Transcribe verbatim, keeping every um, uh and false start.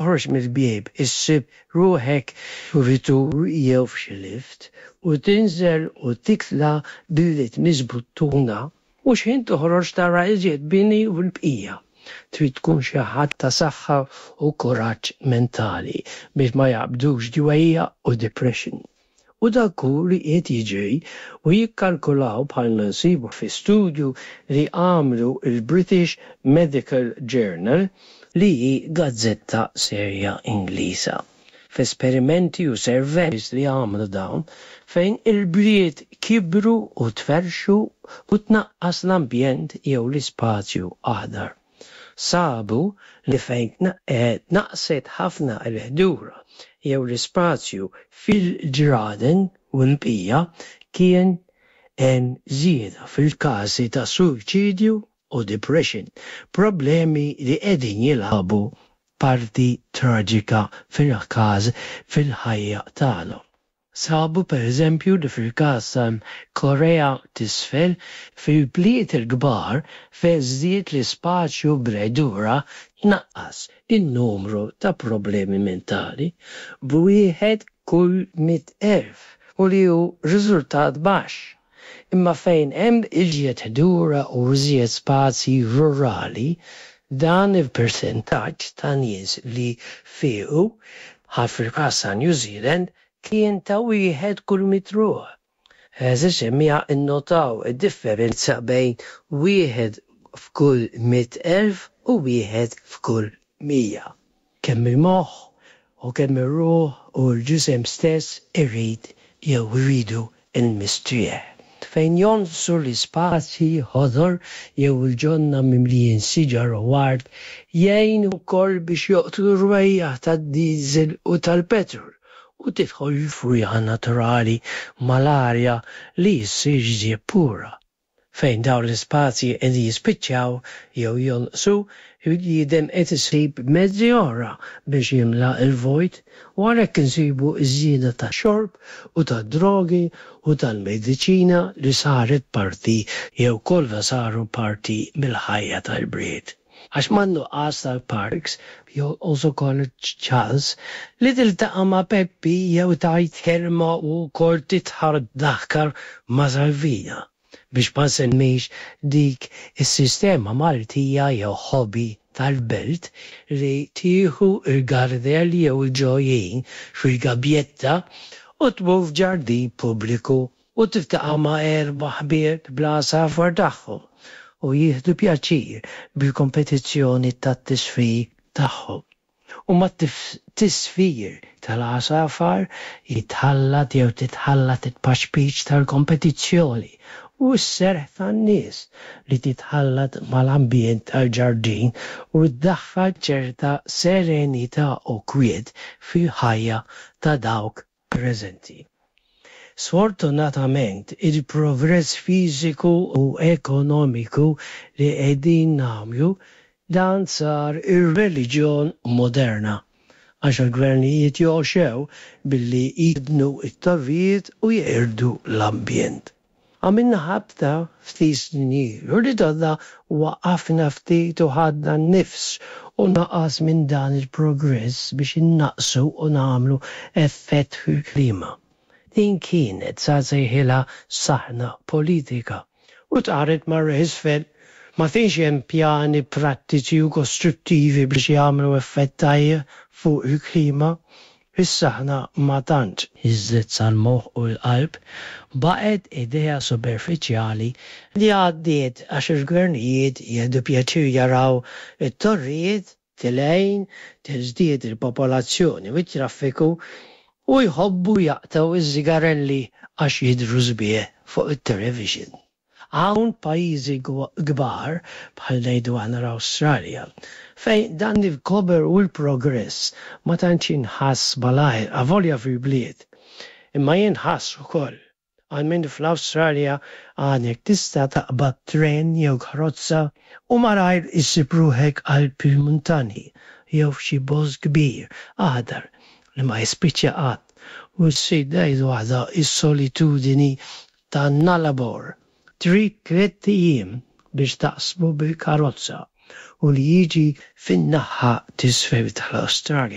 Toħroġ mill-bieb issib ruħek f'kuritur jew f'xi lift u tinżel u titla' billi tmiss buttuna u x'ħin toħroġ tara iżjed bini u l-bqija. Trid tkun xi ħadd ta' saħħa u kuraġġ mentali biex ma jaqbdukx dwejjaq u depression. U dak hu li qiegħed jiġri u jikkalkulaw bħalma nsibu fi studju li għamlu l-British Medical Journal li hi gazzetta serja Ingliża. F'esperimenti u surveys li għamlu dawn, fejn il-bliet kibru u tferrxu u tnaqqas l-ambjent jew l-ispazju aħdar. Sabu li fejn tnaqqset ħafna l-ħdura jew l-ispazju fil-ġraden u l-bqija kien hemm żieda fil-każi ta' suwiċidju u depression, problemi li qegħdin jilagħbu parti traġika fil-każ fil-ħajja tagħna. Sabu pereżempju li fil-każ tal-Korea t'Isfel, fil-bliet il-kbar fejn żdied l-ispazju bl-ħdura tnaqqas in-numru ta' problemi mentali b'wieħed kull mitt elf u li hu riżultat baxx. Imma fejn hemm iżjed ħdura u iżjed spazji rurali, dan il-persentaġġ ta' nies li fiequ, bħal fil-każ ta' New Zealand, kien ta' wieħed kull mitt ruħ. Għeżież semmiegħa innotaw id-differenza bejn wieħed f'kull mitt elf u wieħed f'kull mija. Kemm il-moħħ u kemm ir-ruħ u l-ġisem stess irid jew iridu l-mistrieħ. Fejn jonqsu l-ispazji ħodor jew il-ġonna mimlijin siġar u ward jgħinu wkoll biex joqtlu r-rwejjaħ tad-diesel u tal-petrol u tidħol il-fwieħa naturali mal-arja li ssir iżjed pura. Fejn dawn l-ispazji qegħdin jispiċċaw jew jonqsu, il-bniedem qed isib mezzi oħra biex jimla l-vojt u għalhekk insibu ż-żieda tax-xorb u tad-drogi u tal-mediċina li saret parti jew kollha saru parti mill-ħajja tal-bliet. Għax man-nuqqas tal-parks jonqos ukoll iċ-ċans li tiltaqa' ma' Peppi jew tgħid kelma u wkoll tidħak daħka ma' Salvina. Biex ma nsemmix dik is-sistema Maltija jew hobby tal-Belt li tieħu l-gardell jew il-ġojjin fil-gabjetta u tmur f'ġardin pubbliku u tiltaqa' ma' erba' ħbieb bl-għasafar tagħhom u jieħdu pjaċir bil-kompetizzjoni tat-tisfir tagħhom. U mat-tisfir tal-għasafar jitħallat jew titħallat it-tpaċpiċ tal-kompetizzjoni u s-serħ tan-nies li titħallat mal-ambjent tal-ġardin u ddaħħal ċerta serenità u kwiet fil-ħajja ta' dawk preżenti. Sfortunatament il-progress fiżiku u ekonomiku li qegħdin nagħmlu dan sar ir-reliġjon moderna għax il-gvernijiet jogħxew billi jibnu t-torrijiet u jeqirdu l-ambjent. Għamilna ħabta ftit snin ilu li donna waqafna ftit u ħadna n-nifs u naqas minn dan il-progress biex innaqqsu u nagħmlu effett fil-klima. Din kienet, sa nsejħilha saħna politika u taret marra isfel. Ma kienx hemm pjani prattiċi u kostruttivi biex jagħmlu effett tajjeb fuq il-klima. Is-saħna ma tantx niżlet sal-moħħ u l-qalb, baqgħet idea superfiċjali li għaddiet għax il-gvernijiet jieħdu pjaċir jaraw it-torrijiet tilgħin, tiżdied il-popolazzjoni u t-traffiku u jħobbu jaqtgħu ż-żigarelli għax jidhru sbieħ fuq it-television. Hawn pajjiżi kbar bħal ngħidu aħna l-Awstralja fejn dan il-kober u l-progress ma tantx jinħass malajr avolja fil-bliet, imma jinħass ukoll. Almenu fl-Awstralja għadek tista' taqbad tren jew karozza u malajr issib ruħek qalb il-muntanji jew f'xi bosk kbir aħdar li ma jispiċċa qatt u ssib ngħidu aħna s-solitudini ta' Nullarbor. Trid tlett ijiem biex taqsmu bil-karozza. u li jiġi fin-naħha t'isfel tal-Awstralja.